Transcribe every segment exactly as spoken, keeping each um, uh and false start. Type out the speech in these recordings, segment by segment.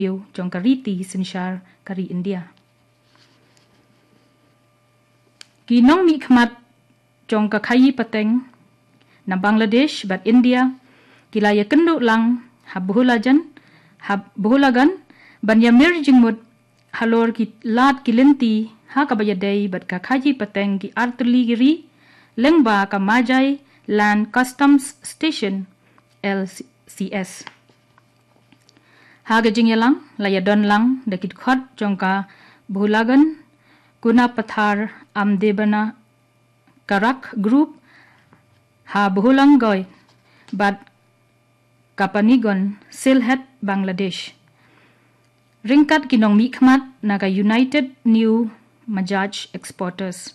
ïew jong ka riti synshar ka ri India. Ki nongmihkhmat jong ka khaïi pateng na Bangladesh bad India ki la ïakynduh lang ha Bhulajan, ha Bhulagan, ban ïamir jingmut halor ki lad ki lynti ha kaba ïadei bad ka khaïi pateng ki artylli ki ri lyngba ka Majai Land Customs Station, L C S. Ha ka jingïalang la ïadon lang da ki dkhot jong ka Bhulagan Kunapathar Amdebana Karak Group ha Bhulangoi bad Kapanigon, Sylhet, Bangladesh, ryngkat ki nongmihkhmat na ka United New Majaj Exporters.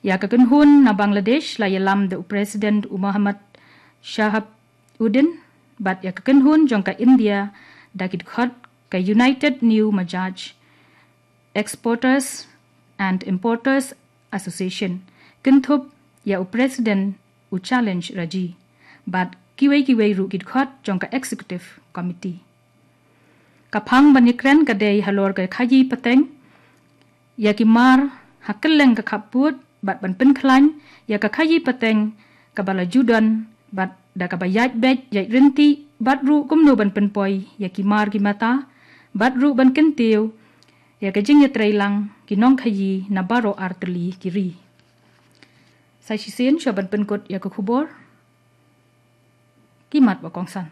Ïa ka kynhun na Bangladesh la ïalam da u President u Muhammad Shahab Uddin, bad ïa ka kynhun jong ka India da ki dkhot ka United New Majaj Exporters and Importers Association, kynthup ïa u President u Challenge Raji, bad kiwei kiwei ruh ki dkhot jong ka Executive Committee. Ka phang ban ïakren ka dei halor ka khaïi pateng, ïa ki mar ha kylleng ka khappud, bad ban pynkhlaiñ ïa ka khaïi pateng kaba la ju don, bad da kaba ïaid beit ïaid rynti, bad ruh kumno ban pynpoi ïa ki mar ki mata, bad ruh ban kyntiew ïa ka jingïatreilang ki nongkhaïi na baroh artylli ki ri. Sa shisien shuwa ban pynkut ïa ka khubor, ki mat ba kongsan.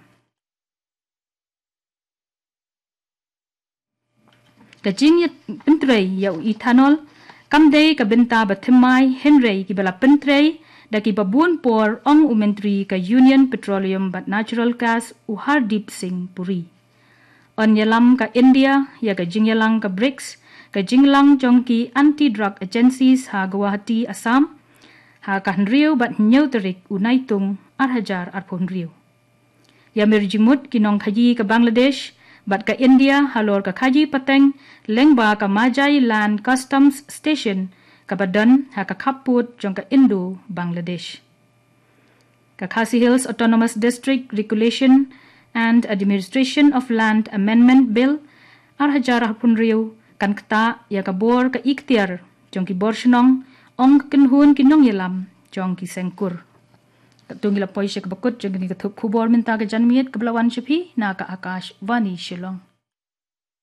Ka jingïapyntrei ïa u ethanol kam dei ka bynta ba thymmai, hynrei kiba la pyntrei da kiba bun por, ong u Myntri ka Union Petroleum bad Natural Gas u Hardeep Singh Puri. Yn ïalam ka India ïa ka jingïalang ka BRICS, ka jinglang jong ki Anti Drug Agencies ha Guwahati, Assam, ha ka hynriew bad hynñiew tarik u Naitung ar hajar arphew hynriew. Ïamir jingmut ki nongkhaïi ka Bangladesh bad ka India halor ka khaïi pateng lyngba ka Majai Land Customs Station kaba don ha ka khappud jong ka Indo-Bangladesh. Ka Khasi Hills Autonomous District Regulation and Administration of Land Amendment Bill ar hajar arphew hynriew kan ktah ïa ka bor ka iktiar jong ki bor shnong, ong ka kynhun ki nongïalam jong ki seng kur. Katto ngi la poi sha kaba kut jong kane ka thup khubor mynta ka janmiet kaba la wan sha phi na ka Akashvani Shillong.